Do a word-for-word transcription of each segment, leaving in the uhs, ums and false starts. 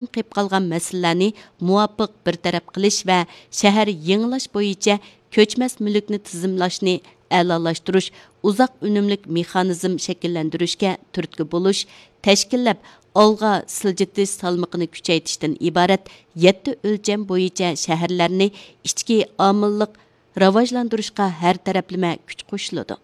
قېلىپ قالغان مەسىلىلەرنى مۇۋاپىق بىر تەرەپ قىلىش ۋە شەھەر يېڭىلاش بويىچە كۆچمەس مۈلۈكنى تىزىملاشنى ئەلالاشتۇرۇش، ئۇزاق ئۈنۈملۈك مېخانىزم شەكىللەندۈرۈشكە تۈرتكە بولۇش، تەشكىللەپ ئالغا سىلجىتىش سالمىقىنى كۈچەيتىشتىن ئىبارەت يەتتە ئۆلچەم بويىچە شەھەرلەرنى ئىچكى ئامىللىق راۋاجلاندۇرۇشقا ھەر تەرەپلىمە كۈچ قوشۇلىدۇ.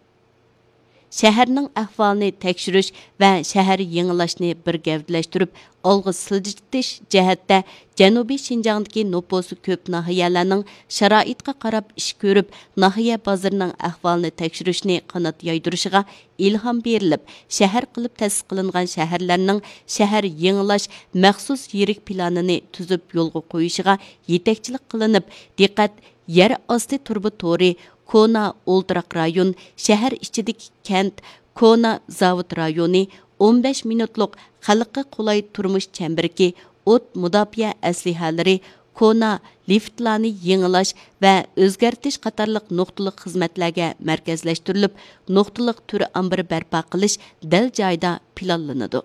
شەھەرنىڭ ئەھۋالىنى تەكشۈرۈش ۋە شەھەر يېڭىلاشنى بىر گەۋدىلەشتۈرۈپ ئالغا سىلجىتىش جەھەتتە جەنۇبىي شىنجاڭدىكى نوپۇسى كۆپ ناھىيەلەرنىڭ شارائىتقا قاراپ ئىش كۆرۈپ، ناھىيە بازىرىنىڭ ئەھۋالىنى تەكشۈرۈشنى قانات يايدۇرۇشىغا ئىلھام بېرىلىپ، شەھەر قىلىپ تەسىس قىلىنغان شەھەرلەرنىڭ شەھەر يېڭىلاش مەخسۇس يىرىك پىلانىنى تۈزۈپ يولغا قويۇشىغا يېتەكچىلىك قىلىنىپ، دىققەت يەر ئاستى تۇرۇبا تورى، كونا ئولتۇراق رايون، شەھەر ئىچىدىكى كەنت، كونا زاۋۇت رايونى، ئون بەش مىنۇتلۇق خەلققە قولاي تۇرمۇش چەمبىرىكى، ئوت مۇداپىئە ئەسلىھەلىرى، كونا لىفتلارنى يېڭىلاش ۋە ئۆزگەرتىش قاتارلىق نۇقتىلىق خىزمەتلەرگە مەركەزلەشتۈرۈلۈپ، نۇقتىلىق تۈر ئامبىرى بەرپا قىلىش دەل جايىدا پىلانلىنىدۇ.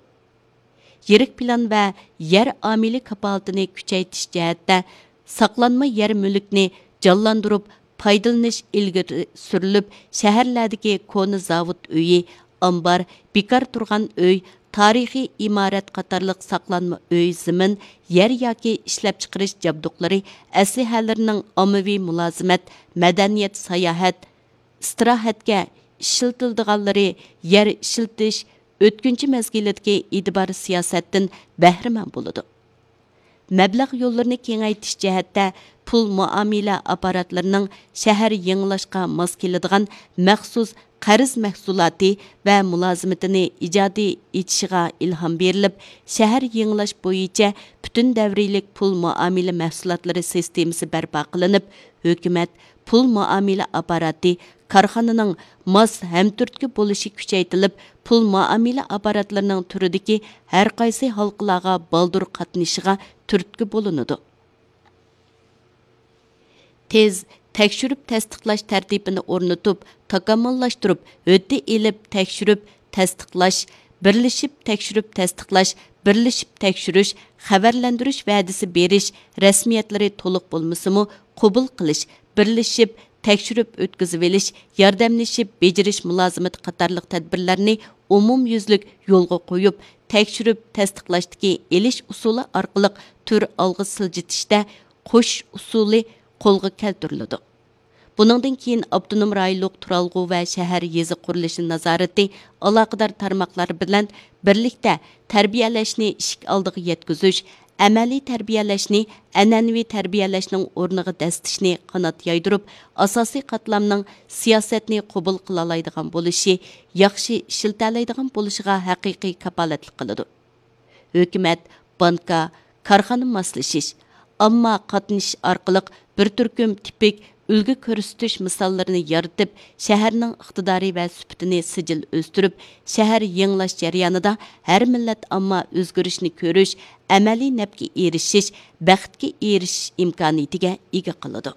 يىرىك پىلان ۋە يەر ئامىلى كاپالىتىنى كۈچەيتىش جەھەتتە ساقلانما يەر مۈلۈكنى جانلاندۇرۇپ پايدىلىنىش ئىلگىرى سۈرۈلۈپ، شەھەرلەردىكى كونا زاۋۇت ئۆيى، ئامبار، بىكار تۇرغان ئۆي، تارىخىي ئىمارەت قاتارلىق ساقلانما ئۆي زېمىن، يەر ياكى ئىشلەپچىقىرىش جابدۇقلىرى، ئەسلىھەلىرىنىڭ ئاممىۋى مۇلازىمەت، مەدەنىيەت، ساياھەت، ئىستىراھەتكە ئىشلىتىلىدىغانلىرى يەر ئىشلىتىش ئۆتكۈنچى مەزگىلىدىكى ئېتىبار سىياسەتتىن بەھرىمەن بولىدۇ. مەبلەغ يوللىرىنى كېڭەيتىش جەھەتتە پۇل مۇئامىلە ئاپپاراتلىرىنىڭ شەھەر يېڭىلاشقا ماس كېلىدىغان مەخسۇس قەرز مەھسۇلاتى ۋە مۇلازىمىتىنى ئىجادىي ئېچىشىغا ئىلھام بېرىلىپ، شەھەر يېڭىلاش بويىچە پۈتۈن دەۋرىيلىك پۇل مۇئامىلە مەھسۇلاتلىرى سىستېمىسى بەرپا قىلىنىپ، ھۆكۈمەت، پۇل مۇئامىلە ئاپپاراتى، كارخانىنىڭ ماس ھەمتۈرتكە بولۇشى كۈچەيتىلىپ، پۇل مۇئامىلە ئاپپاراتلىرىنىڭ تۈرىدىكى ھەرقايسى ھالقىلارغا بالدۇر قاتنىشىشىغا تۈرتكە بولۇنىدۇ. تېز تەكشۈرۈپ تەستىقلاش تەرتىپىنى ئورنىتىپ، تاكامۇللاشتۇرۇپ، ھۆددە ئېلىپ تەكشۈرۈپ تەستىقلاش، بىرلىشىپ تەكشۈرۈپ تەستىقلاش، بىرلىشىپ تەكشۈرۈش، خەۋەرلەندۈرۈش ۋەدىسى بېرىش رەسمىيەتلىرى تولۇق بولمىسىمۇ، قوبۇل قىلىش، بىرلىشىپ تەكشۈرۈپ ئۆتكۈزۈۋېلىش، ياردەملىشىپ بېجىرىش مۇلازىمىتى قاتارلىق تەدبىرلەرنى ئومۇميۈزلۈك يولغا قويۇپ، تەكشۈرۈپ تەستىقلاشتىكى ئېلىش ئۇسۇلى ئارقىلىق تۈر ئالغا سىلجىتىشتە قوشۇش ئۇسۇلى قولغا كەلتۈرۈلىدۇ. بۇنىڭدىن كېيىن ئاپتونوم رايونلۇق تۇرالغۇ ۋە شەھەر يېزا قۇرۇلۇشى نازارىتى ئالاقىدار تارماقلار بىلەن بىرلىكتە تەربىيەلەشنى ئىشىك ئالدىغا يەتكۈزۈش، ئەمەلىي تەربىيەلەشنى ئەنئەنىۋى تەربىيەلەشنىڭ ئورنىغا دەسسىتىشنى قانات يايدۇرۇپ، ئاساسىي قاتلامنىڭ سىياسەتنى قوبۇل قىلالايدىغان بولۇشى، ياخشى ئىشلىتەلەيدىغان بولۇشىغا ھەقىقىي كاپالەتلىك قىلىدۇ. ھۆكۈمەت، بانكا، كارخانا ماسلىشىش، ئامما قاتنىشىش ئارقىلىق بىر تۈركۈم تىپىك ئۈلگە كۆرسىتىش مىساللىرىنى يارىتىپ، شەھەرنىڭ ئىقتىدارى ۋە سۈپىتىنى سىجىل ئۆستۈرۈپ، شەھەر يېڭىلاش جەريانىدا ھەر مىللەت ئامما ئۆزگىرىشنى كۆرۈش، ئەمەلىي نەپكە ئېرىشىش، بەختكە ئېرىشىش ئىمكانىيىتىگە ئىگە قىلىدۇ.